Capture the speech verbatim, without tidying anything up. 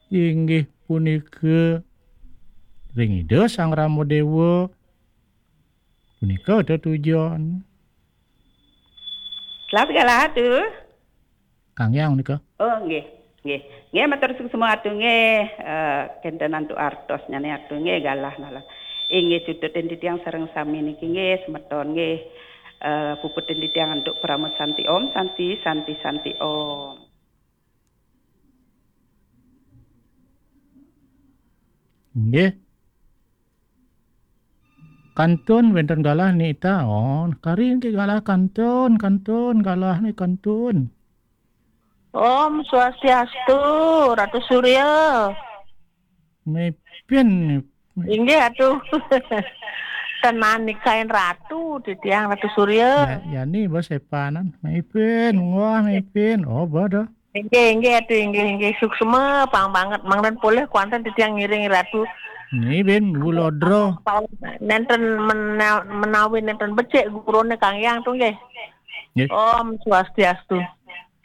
Inggih punika ring Ida Sang Rama Dewa. Punika tetujon. Selamat galah, Atu. Kang Hyang nika. Oh, nggih. Nggih. Nggih, matur suksma, Atu, nggih. Eh, kenten antuk artosnyane, Atu, nggih, galah, galah. Inggih, cucutin titiang sareng sami niki, nggih, semeton, nggih. Eh, puputin titiang antuk parama santi, Om Santi, Santi, Santi, Om. Nggih. Kantun wenten galah nita. Oh, kari niki galah kantun, kantun, galah ni kantun. Om Swastiastu, Ratu Surya. Mipin. Inggih, Atu. Tenan nikain Ratu, titiang Ratu Surya. Ya, yani bos epanan. Mipin, wah, mipin. Oh, bodoh. Inggih, inggih, Atu, inggih, inggih. Suksma, pang banget. Mangdan polih kuanten titiang ngiring Ratu. Ni bin, bulodro. Nenten mena-, menawi nenten becik gurune Kang Hyang tu, nggih. Nggih. Om Swastiastu.